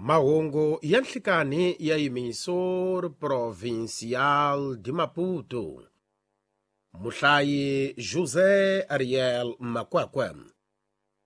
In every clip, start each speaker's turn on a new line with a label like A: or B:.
A: Mahungu ya nhlikani ya Emissor Provincial de Maputo. Muhlayi José Ariel Makwakwa.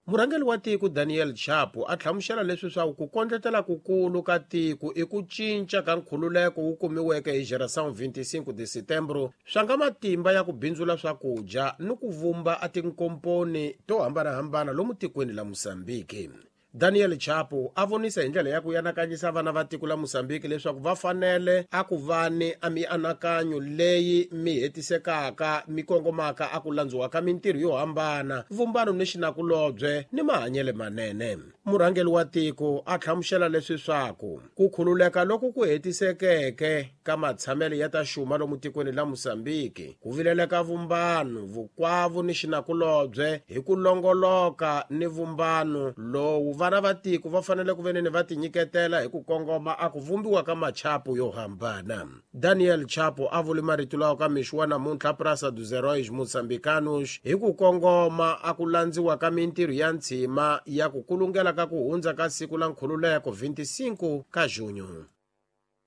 A: Murhangeri wa tiko Daniel Chapo a hlamusela leswi swa ku kondletela kukulu ka tiko i ku cinca ka nkhululeko wu kumiweke hi Geração 25 de Setembro swa nga matimba ya ku bindzula swakudya ni ku vumba a tinkomponi to hambanahambana lomu tikweni la Mozambique. Daniel Chapo a vonisa hi ndlela ya ku yanakanyisa vana va tiko la Mozambique leswaku va fanele a ku vani a mianakanyo leyi mi hetisekaka mi kongomaka a ku landziwa ka mintirho yo hambana, vumbano ni xinakulobye ni mahanyelo manene. Murhangeri wa tiko a hlamusela leswi swaku ku khululeka loku ku hetisekeke ka matshamelo ya ta xuma lomu tikweni la Mozambique ku vileleka vumbano, vukwavu ni xinakulobye hi ku longoloka ni vumbano lowu vana va tiko va fanele ku veneni va tinyiketela hi ku kongoma a ku vumbiwa ka machapo yo hambana. Daniel Chapo a vule marito lawa ka mixo wa namuntlha Praça dos Heróis Moçambicanos hi ku kongoma a ku landziwa ka mintirho ya ntshima ya ku kulungela ka ku hundza ka siku la nkhululeko 25 ka junho.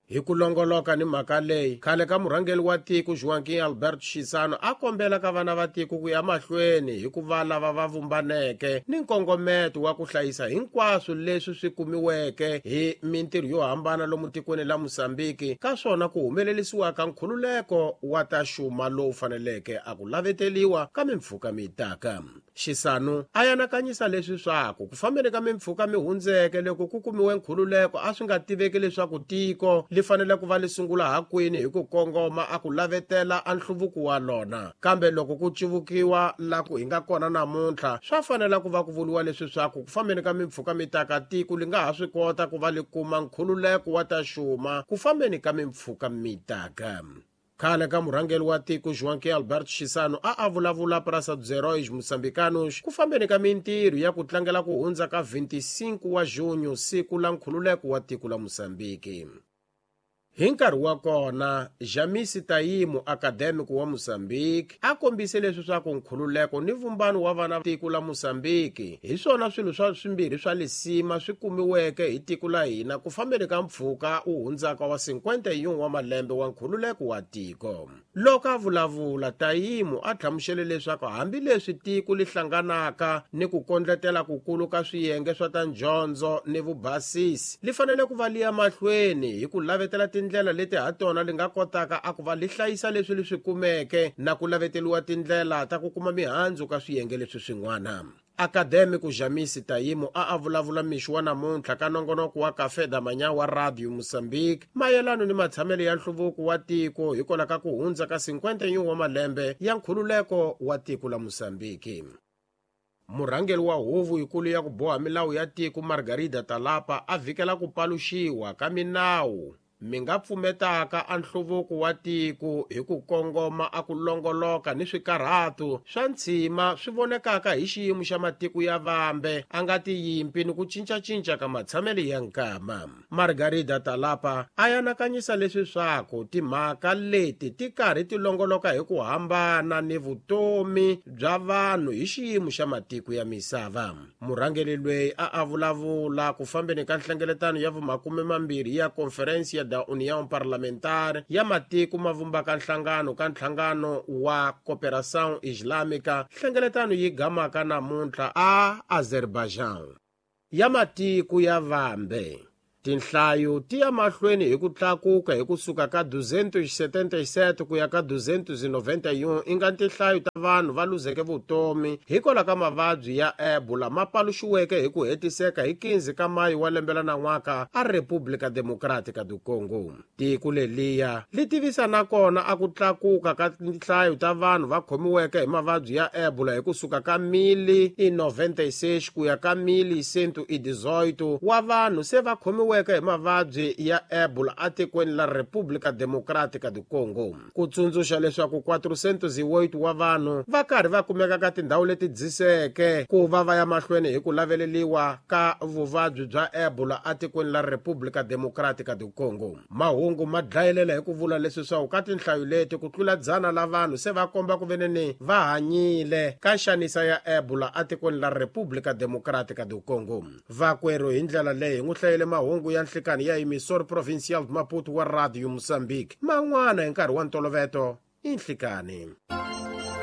A: Hi ku longoloka ni mhaka leyi, khale ka murhangeri wa tiko Joaquim Alberto Chissano a kombela ka vana va tiko ku ya mahlweni hi ku va lava va vumbaneke ni nkongometo wa ku hlayisa hinkwaswo leswi swi kumiweke hi mintirho yo hambana lomu tikweni la Mozambique ka swona ku humelerisiwa ka nkhululeko wa ta xuma lowu faneleke a ku laveteliwa ka mimpfhuka mitaka. Xisanu a yanakanyisa leswi swaku ku fambeni ka mimpfhuka mi hundzeke loko ku kumiwe nkhululeko a swi nga tiveki leswaku tiko li fanele ku va li sungula hakwini hi ku kongoma a ku lavetela a nhluvuko wa lona, kambe loko ku civukiwa la ku hi nga kona namuntlha swa fanela ku va ku vuriwa leswi swaku ku fambeni ka mimpfhuka mitaka tiko li nga ha swi kota ku va li kuma nkhululeko wa ta xuma ku fambeni ka mimpfhuka mitaka. Khale ka murhangeri wa tiko Joaquim Alberto Chissano a a vulavula Praça dos Heróis Moçambicanos ku fambeni ka mintirho ya ku tlangela ku hundza ka 25 wa junho, siku la nkhululeko wa tiko la Mozambique. Hi nkarhi wa kona, Jamisi Tayimu, academic wa Mozambique, a kombise leswi swa ku nkhululeko ni vumbano wa vana tiko la Mozambique hi swona swilo swa swimbirhi swa lisima swi kumiweke hi tiko la hina ku fambeni ka mpfhuka wu hundzaka wa 51 wa malembe wa nkhululeko wa tiko. Loko a vulavula, Tayimu a hlamusele leswaku hambileswi tiko li hlanganaka ni ku kondletela kukulu ka swiyenge swa ta ndyondzo ni vubasisi, li fanele ku va li ya mahlweni hi ku lavetela tindlela leti ha tona li nga kotaka a ku va li hlayisa leswi li swi kumeke na ku laveteliwa tindlela ta ku kuma mihandzu ka swiyenge leswi swin'wana. Akademiku Jamisi Tayimu a a vulavula mixo wa namuntlha ka nongonoko wa Café da Manhã wa Radio Mozambique mayelano ni matshamelo ya nhluvuko wa tiko hikwalaho ka ku hundza ka 51 wa malembe ya nkhululeko wa tiko la Mozambique. Murhangeri wa huvo yikulu ya ku boha milawu ya tiko Margarida Talapa a vhikela ku paluxiwa ka minawu mi nga pfumetaka a nhluvuko wa tiko hi ku kongoma a ku longoloka ni swikarhatu swa ntshima swi vonekaka hi xiyimo xa matiko ya vambe a nga tiyimpi ni ku cincacinca ka matshamelo ya nkama. Margarida Talapa a yanakanyisa leswi swaku timhaka leti ti karhi ti longoloka hi ku hambana ni vutomi bya vanhu hi xiyimo xa matiko ya misava. Murhangeri loyi a a vulavula ku fambeni ka nhlengeletano ya vumakume mambirhi ya Conferência da União Parlamentar ya matiko ma vumbaka nhlangano ka nhlangano wa Cooperação Islâmica, nhlengeletano yi gamaka namuntlha a Azerbaijan. Ya matiko ya vambe tinhlayo ti ya mahlweni hi ku tlakuka hi kusuka ka 277 ku ya ka 291 i nga tinhlayo ta vanhu va luzeke vutomi hikwalaho ka mavabyi ya Ebola ma paluxiweke hi ku hetiseka hi 15 ka mayi wa lembe la nan'waka a República Democrática do Congo. Tiko leliya li tivisa nakona a ku tlakuka ka tinhlayo ta vanhu va khomiweke hi mavabyi ya Ebola hi kusuka ka 1096 ku ya ka 1118 wa vanhu se va khomiweke hi mavabyi ya Ebola atikweni la República Democrática do Congo. Ku tsundzuxa leswaku 408 wa vanhu va karhi va kumeka ka tindhawu leti dziseke ku va va ya mahlweni hi ku laveleliwa ka vuvabyi bya Ebola atikweni la República Democrática do Congo. Mahungu ma dlayelela hi ku vula leswi swaku ka tinhlayo leti ku tlula dzana la vanhu se va komba ku veneni va hanyile ka nxanisa ya Ebola atikweni la República Democrática do Congo. Vakwerhu hi ndlela leyi hi n'wi hlayele mahungu. mahungu ya nhlikani ya Emissor Provincial de Maputo wa Radio Mozambique. Man'wana hi nkarhi wa ntoloveto i nhlikani.